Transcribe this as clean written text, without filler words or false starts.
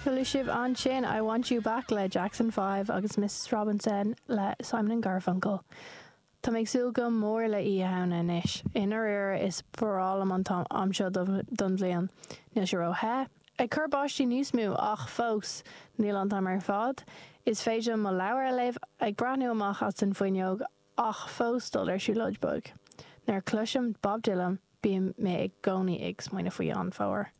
Chuala sibh ansin I Want You Back le Jackson 5 agus Mrs Robinson le Simon and Garfunkel. Tá mé ag súil go mór le Oíche Shamhna anois. I ndáiríre is breá liom an t-am seo don bhliain. Níl sé ró-the, ag cur báistí níos mó ach fós níl an t-am ar fad. Is féidir liom mo leabhar a léamh ag breathnú amach as an bhfuinneog ach fós dul ar siúlóid beag. Nuair a chloisim Bob Dylan bíonn mé i gcónaí ag smaoineamh faoi an fómhar.